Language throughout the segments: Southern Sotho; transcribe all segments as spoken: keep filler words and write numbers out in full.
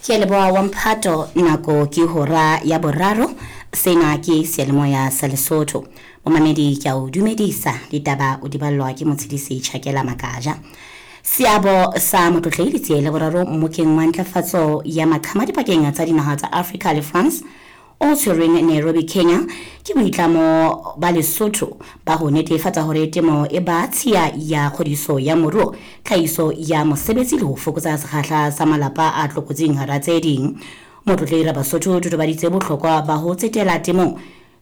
Ke leboha wa mphato, nako ke hora ya boraro. Sena ke seyalemoya sa Lesotho. Momamedi, ke a o dumedisa. Ditaba o di ballwa ke Motshedisi Tjhakela Makaja. Seabo sa Motlotlehi Letsie la Boraro mmokeng wa ntlafatso ya maqhama dipakeng tsa dinaha tsa Afrika le France o tshwerweng Nairobi, Kenya, ke boitlamo ba Lesotho ba ho netefatsa hore temo e ba tshiya ya kgodiso ya moruo, tlhahiso ya mosebetsi le ho fokotsa sekgahla sa malapa a tlokotsing hara tse ding. Motlotlehi Rabasotho o totobaditse bohlokwa ba ho tsetela temong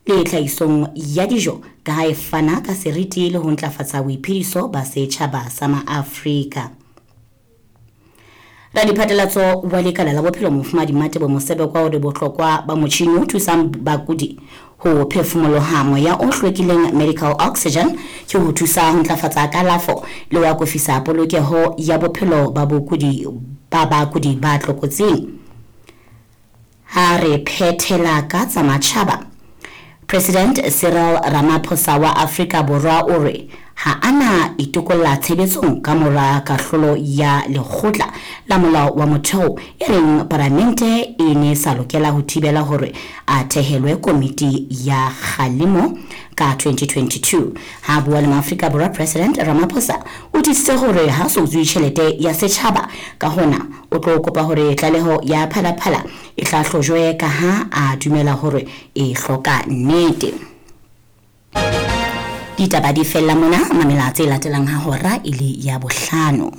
le tlhahisong ya dijo ka ha e fana ka seriti le ho ntlafatsa boiphediso ba setjhaba sa maAfrika. Radiphatlalatso wa lekala la bophelo Mofumahadi Matebo Mosebekwa o re bohlokwa ba motjhini o thusang bakudi ho phefumoloha moya o hlwekileng, medical oxygen, ke ho thusa ho ntlafatsa kalafo le ho akofisa polokeho ya bophelo ba bokudi ba bakudi ba tlokotsing. Ha re phethela ka tsa matjhaba, President Cyril Ramaphosa wa Afrika Borwa o re ha ana itokolla tshebetsong ka mora kahlolo ya lekgotla la molao wa motheo e reng palamente e ne sa lokela ho thibela hore a thehelwe komiti ya kgalemo ka twenty twenty-two. Ha bua le maAfrika Borwa, President Ramaphosa o tiisitse hore ha so utswe tjhelete ya setjhaba, ka hona o tlo kopa hore tlaleho ya Phalaphala e hlahlojwe ka ha a dumela hore e hloka nnete. Ditaba di fella mona, mamela tse latelang ha hora e le ya bohlano.